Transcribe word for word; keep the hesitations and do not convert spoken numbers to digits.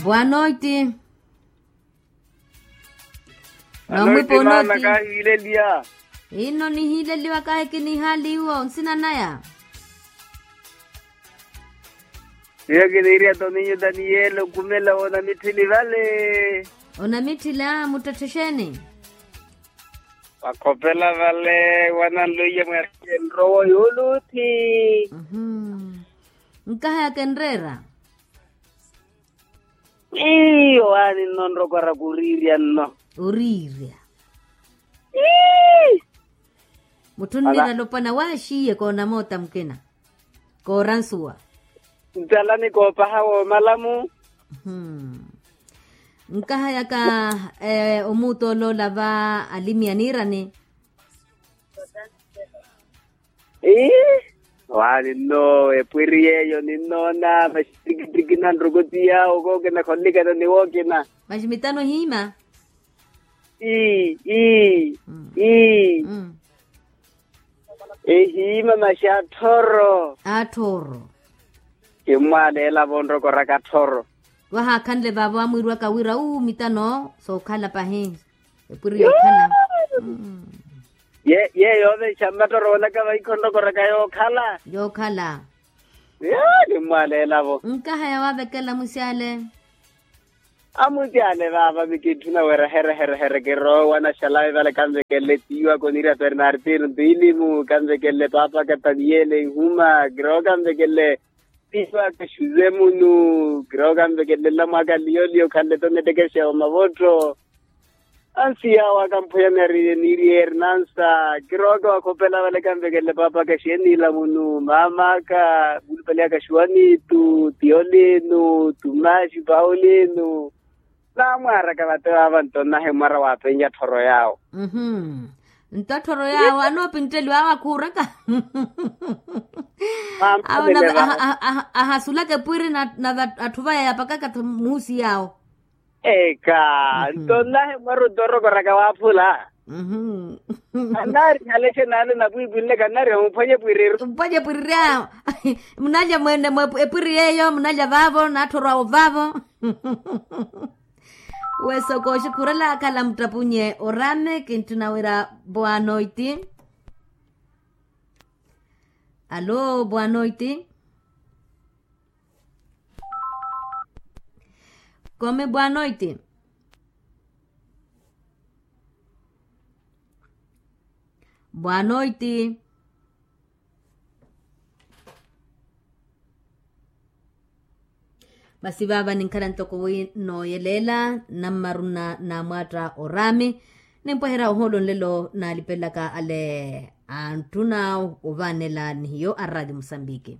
Boa noite. Noite, mana, kahiileliya. Ino nihiileliwa kahi kinihaali iwo nsina naya. Iyo kiniiriya toninyu daniyeli okumela onamitthili vale. Onamitthila muttetthe xeeni? Wakhopela vale wananluiya mweereke nrowa yooluthi. Nkaha yakenreera. Iyo waani nno nrokoraka oriirya nno. Oriirya. Mutthu nnira alopwana waaxiiye koonamoota mukina. Kooransuwa. Ntalani koopaha woomalamu. Nkaha yaka omuutooloola va alimi aniirani. Ii, waani nno epwiri yeeyo ninnoona maxittikitiki na nrukoti yaawo kookina khollikana ni wookina. Maxi mitano hiima. Ii ii ii. Ehiima maxi atthoro. Atthoro. Kimmwaaleela vonrokoraka atthoro. Wahaakhanle vaavo amwiiriwaka wira uu mitano sookhala pahi. Epwiri yookhala. Ye yeeyo ovenxa mmatoro woonaka vahikhonrokoraka yookhala. Yookhala. Kimmwaaleelavo. Nkaha yawaavekela mwisyale. Amwisyale vaava mikitthuna wira here here here kiroowa naxalawe vale kanvekelele tiiwaka oniira bernardino ntiilimu kanvekelele paapa kataniyele inhuma kiroowa kanvekelele tiiwaka xuze munu kiroowa kanvekelele nlamwaka liyoliyo khanle tonettekexa omavottho. Ansi yaawo akamphuya nari niiri ernansa kirooka wakhopela vale kanvekelele paapaka xeenila munu maamaka mulupali aka xuwanitu tiyolinu tumaxi paulinu. Naamwaaraka vate vaava nto nnahi mwara waapennya tthoro yaawo. Nto tthoro yaawo anoopintteliwa awo akhuuraka. Awo ahasulaka epwiri na atthu vaya yapakaka muusi yaawo. Eka nto nnahi mwara ottorokoraka waaphula. Annaari halexe naale napwiipwinle kannaari omuphwanya epwiriri. Omuphwanya epwiriri awo. Munalya mweene mwe epwiri yeeyo munalya vaavo natthorwa awo vaavo. Wesoko oxukhurela akhala muttapunye orame kintthuna wira. Boa noite. Alô, boa noite. Kome boa noite. Boa noite. Masi vaava ninkhala ntoko wi nooyeleela nammaruna naamwaatta oraami. Nimpweherya ohoolo nlelo naalipelelaka ale antthuna ovaanela ni hiyo a raadio musambiki.